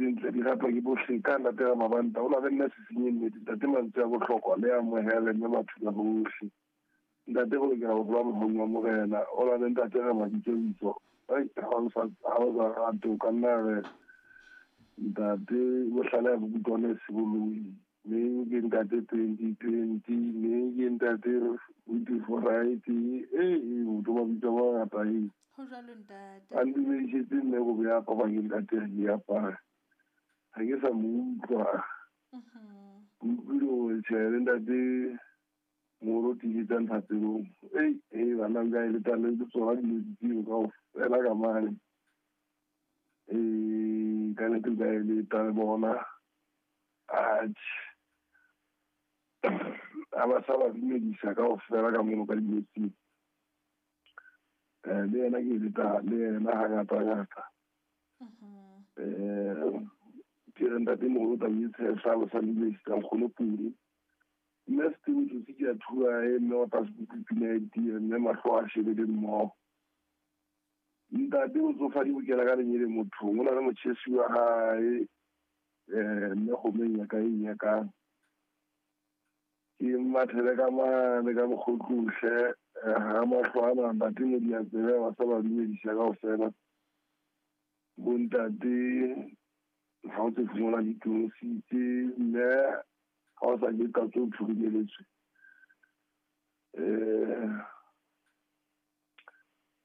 tse ntle di ratwa ke bohle ka ntate ga mabanta o na le nna sesenye nnete ntate mantswe a bohlokwa le amohele mme batho ba bohle ntate go lokela go gola mogaung wa morena o na le ntate ga mabitsobitso ai ga o sa rate o ka nna re ntate bohlale ya bokutwane seboloi mme ke ntate 2020 mme ke ntate 24 ee motho mabitso a mangata e Ho jwalo ntate. A ntumedisetse mme go beya papa ke ntate re ke apare ga ke sa mo utlwa. Ke utlwile gore tjhe le ntate moro tiisetsang thapelong. Ei ee bana nka e letang le tsona dilo tseo kaofela ka mane. Ee ka nnete nka e leta le bona. Atjhe a ba sa ba dumedisa kaofela ka mono ka dinotshing. Le yena ke leta le yena hangata-ngata. Ke re ntate moholo taba e tshehla ba sa dumedisa nkgono Pule. Mme Steve Tsotsi ke a thuae mme wa tlase pina e tie mme mahlo a shebele mmoho. Ntate o tsofadi o kena ka lenyele mothong o na le motjhesi wa hae mme kgomeng ya ka e nyakang. Ke mathele ka mane ka mokgotlohle ha mahlo ana ntate mo di a tsebe ba sa ba dumedisa kaofela. Bo ntate ha o tse fumana ditositse mme ha o sa ke ka tso thurumeletswe.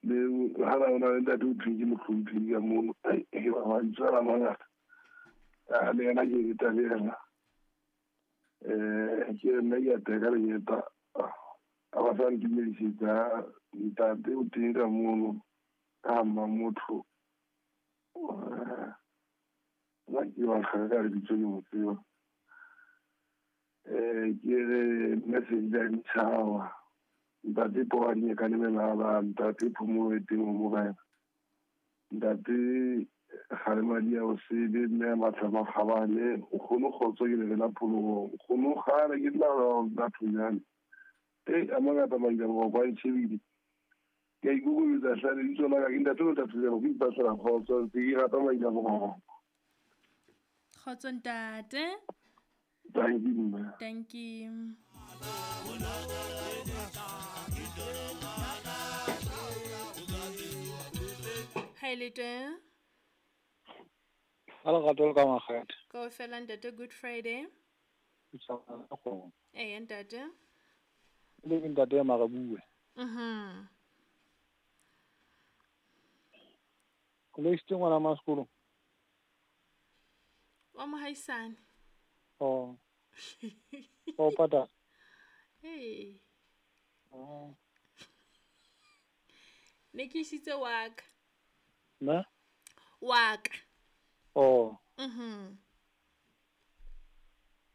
Le ha na le ntate o thwe ke mohlomphehi ka mono ke ba mantswe a mangata. Le yena ke leta le yena. Ke re nna ke a teka lenyeta a ba sa ntumedisetsa ntate o teng ka mono ka mma motho. Nna ke wa nkgaka ka lebitso ke mo tseba. Ke re message ya ditjhaba ntate Poane ka lemelala ntate Phomolo e teng ho morena ntate Kgalemadi ya o sebe mme a matla makgabane o kgone kgotso ke le la pholoho o kgone kgale ke la bathonyane e a mangata maila boroko a ntšhebile ke a ikokobetsa hle lebitso la ka ke ntate o thathonyana ke ipatlela kgotso ntse ke rata maila boroko. Kgotso ntate. Thank you mme. Thank you. Hi le teng. Ha lerato le ka makgethe. Kaofela ntate, Good Friday. Ee ntate. Le ke ntate ya Marabue. Koloi isitse ngwana ma sekolo. Wa mohaisane. Oh. O patala. Ee. Oh. Ne ke isitse wa ka. Ne? Wa ka. Oh.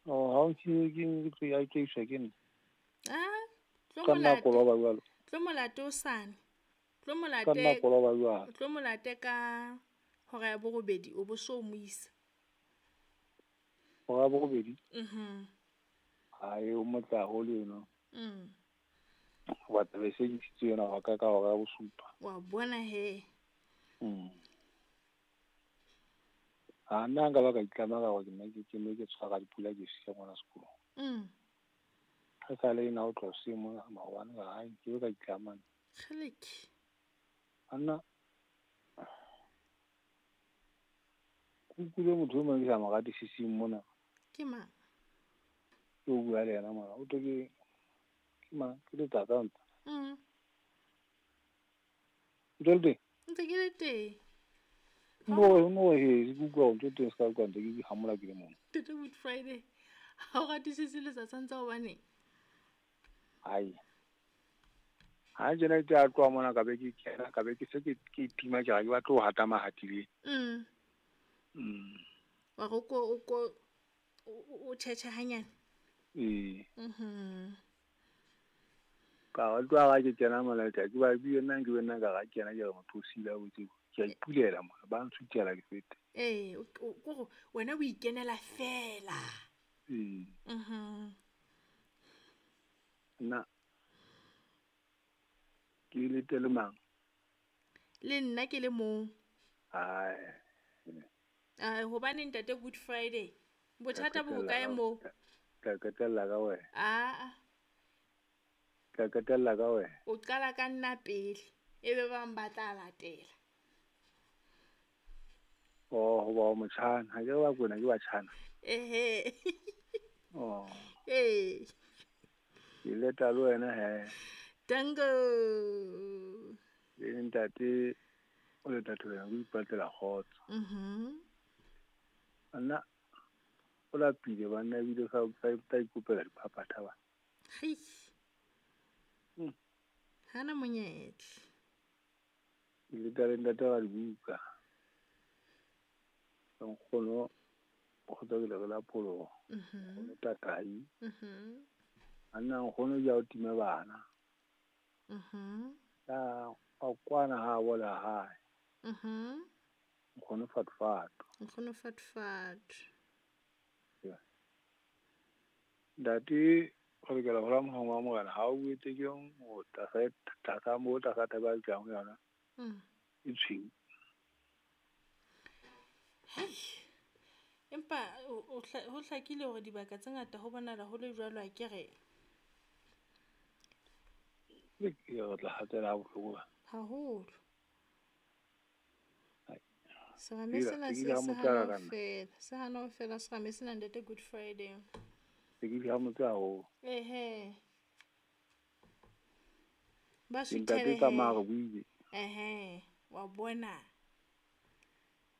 Oh, ha o ke ke ya ke iswa ke nna. Ah, tlo Ka nna molate. koloba jwalo. Tlo molate o sane. Tlo Ka nna molate. koloba jwalo. Tlo molate ka hora ya borobedi o bo so mo isa. Hora ya borobedi? Ai o motla haholo eno. Wa taba e se ke isitse yona wa ka hora ya bosupa. Wa bona he. A nna nka ba ka itlama ka hore nna ke ne ke tshwara dipula ke siya ngwana sekolong. Ha sale ena o tloha hoseng mona maobane ka hae ke be ka itlama. Kgeleke. Anna kukulo motho o mong ke sa mo ratisising mona. Ke mang? Ke o bua le yena mona. O tlo ke mang? Ke letsatsa ntse. Ntse le teng? Ntse ke le teng. No he, ke utlwa ntho teng ska utlwa ntse ke hamola ke le mona. Tete Good Friday. Ha o ratisise letsatsa ntse hobane? Ai. Ha jena ke a tloha mona ka be ke kena ka be ke se ke itima ke ga ke batle ho hata mahatileng. Wa go ko o o tjhetjhe hanyane. Ee. Ka tloha ga ke kena mona ke ba bue nna ke nna ka ga kena ke re motho o sila o tseo. Ke a ipulela mona ba ntshutela ke fete. Ee, o go wena o ikenela fela. Ee. Nna ke le tele mang? Le nna ke le mong. Ai. Hobane ntate Good Friday bothata bo hokae moo? Ka qetella ka wena. Aa. Ka qetella ka wena. O qala ka nna pele ebe ba bang ba tla latela. Oh, hoba o motjhana, ha ke re ba kwena ke batjhana. Ehe. Oh. Ee. Ke leta le wena he. Danko. Le ntate o leta thobela o ipatlela kgotso. Mhm. Nna o lapile banna ebile sa sa ikopela diphaphatha ba. Hei. Hana monyetla. Ke leta le ntate wa dibuka. Nkgono kgotsa ke le la pholoho. Mhm. Nkgono tatai. Mhm. Anna nkgono ja o time bana. Mhm. Ka a kwana ha bola hae. Mhm. Nkgono fatfato. Nkgono fatfato. Yeah. Ntate go lokela go la mohong wa morena ha o boetse ke o tlasa tlasa mo tlasa thaba jang yona. E tshweu. Hei. Empa ho hlakile hore dibaka tse ngata ho bonahala ho le jwalo a ke re. Ke re tla hatela ha bohloko ba. Haholo. Ai. Serame Ke sena ke se ile ha se motse hana ho ka nna. fela. Se hana ho fela serame sena ntate Good Friday. Ke ile ha motse haholo. Ehe. Ba Ke ntate suthele tsamaya he. re buile. Ehe. Wa bona.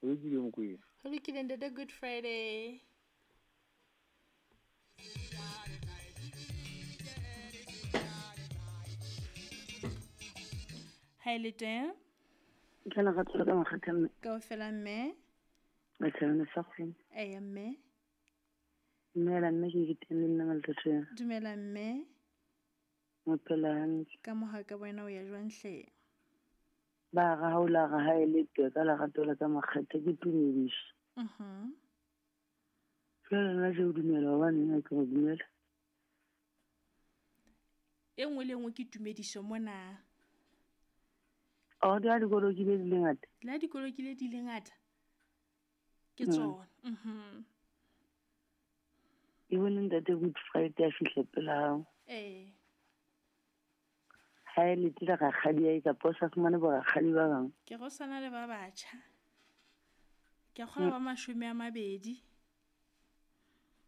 Ho lokile Mokwena. Ho lokile ntate Good Friday. Ha e le teng? Ke lerato la ka makgetha mme. Kaofela mme. Bathabane sa kgweng. Eya mme. Dumela mme ke ke teng le nna Maletoya. Dumela mme. Mo phela hantle. Ka moha ka wena o ya jwang hle? Ba ra ha o la ra ha e le twe ka lerato la ka makgetha ke tumediso. Mhm. Jwale nna je o dumela hobane nna ke go dumela. E nngwe le e nngwe ke tumediso mona. Oh, di a dikolo ke di le ngata. Le ha dikolo ke le di le ngata. Ke tsona. Mhm. E bone ntate Good Friday a fihla pela hao. Eh. Ha e letile rakgadi ya kapa o sa fumane bo rakgadi ba bang. Ke go sana le ba batjha. Ke kgola ba 20.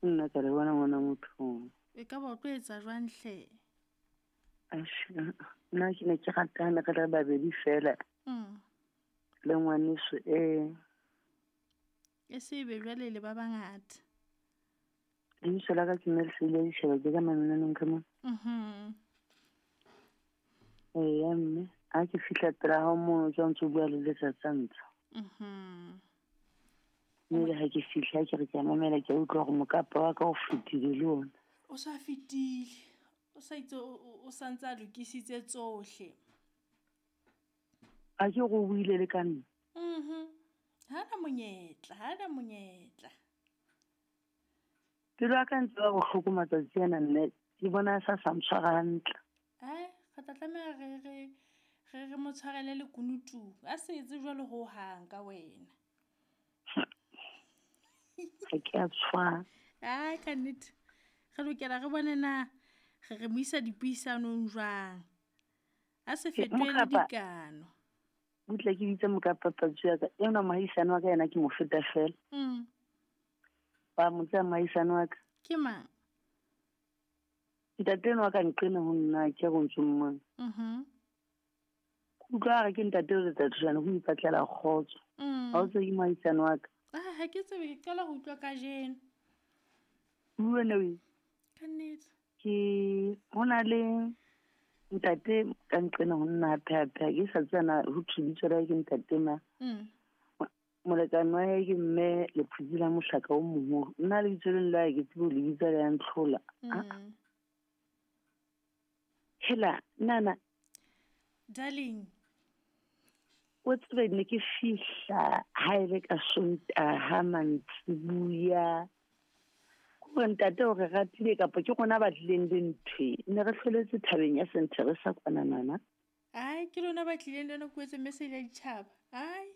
Nna ka le bona ngwana motho. E ka ba o tlo etsa jwang hle? Nna ke ne ke ratana re le babedi fela. Le ngwaneso e. E se be jwale le ba bangata. Lebitso la ka ke mme Lesedi la Ditjhaba ke ka Mamenaneng ka mona. Mhm. Eya mme, ha ke fihla pela hao mono ke ha o ntso bua le letsatsi ntsha. Mhm. Mme le ha ke fihla ke re ke a mamela ke a utlwa hore mokapa wa ka o fetile le ona. O sa fetile. O sa itse o santse a lokisitse tsohle. A ke go buile le ka nna. Mhm. Hana monyetla, hana monyetla. Pelo ya ka ntse ba bohloko matsatsi ana mme ke bona sa sa ntshwara hantle. Ai, re tla tlameha re mo tshwarele lekunutu. A se etse jwalo ho hang ka wena. Ha ke a tshwara. Ai, ka nnete. Re lokela re bone na re mo isa dipuisanong jwang. A se fetohele dikano. Butle ke bitse mokapa patsi ya ka. Ena mohaisane wa ka yena ke mo feta fela. Ba mo tsaya mohaisane wa ka. Ke mang? Ntate enwa wa ka nqena ho nna ke go ntso mmona. Mhm. Utlwa re ke ntate o letsatsi jana ho ipatlela kgotso. Ha o tsebe ke mohaisane wa ka. Ah, ha ke tsebe ke qala ho utlwa kajeno. Bua ne o. Ka nnete. Ke hona le ntate ka nqena ho nna hape ke sa tsena ho thibitso la ke ntate ma. Molekane wa hae ke mme Lephutsi la mohlaka o moholo. Nna lebitso leng la ke tsebe ho le bitsa le ya ntlhola. Hela nana Darling. O tsebe ne ke fihla ha e le ka Sontaha mantsibuya. Gore ntate o re ratile kapa ke rona ba tlileng le ntho ne re hloletse thabeng ya Saint Teresa kwana nana. Ai, ke lona ba tlileng le yona kuetse mme se ile ditjhaba. Ai.